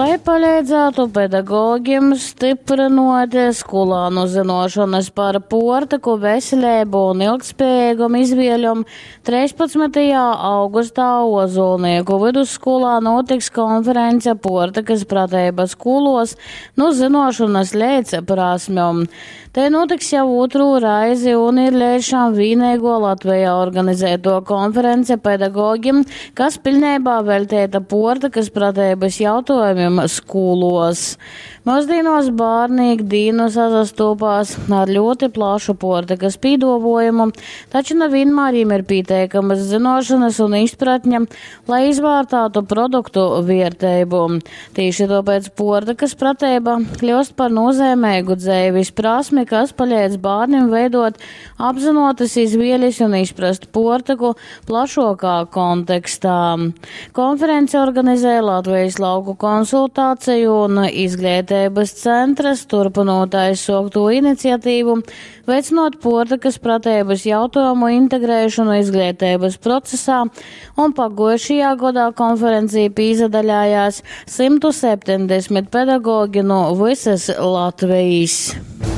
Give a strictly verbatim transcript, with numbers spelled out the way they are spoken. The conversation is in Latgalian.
Lai paleidzātu pedagogim styprynuot skolānu zynuošonys par puortyku, veseleibu un ilgtspiejeigom izvieļom, treispadsmytajā augustā Ozolnieku vidusskolā nūtiks konference Puortykys prateiba skūluos nu zynuošonys leidz prasmjom. Tei nūtiks jau ūtrū reizi un ir leidz šam vīneiguo Latvejā organizeituo konference pedagogim, kas piļneibā veļteita puortykys prateibys jautuojumim skūluos. Myusdīnuos bārni ik dīnu sasastūpās ar ļūti plašu puortykys pīduovuojumu, taču na vīnmār jim ir pīteikamys zynuošonys un izpratņa, lai izvārtātu produktu vierteibu. Tīši tuopēc puortykys prateiba kļiust par nūzeimeigu dzeivis prasmi, kas paleidz bārnim veiduot apzynuotys izvielis un izprast puortyku plašuokā kontekstā. Konferenci organizē Latvejis lauku konsultaceju un izgleiteibys centrs, turpynūt aizsuoktū iniciatīvu, veicynuot puortykys prateibys jautuojumu integrēšonu izgleiteibys procesā, un paguojušajā godā konferencī pīsadalējās symtu septeņdesmit pedagogi nu vysys Latvejis.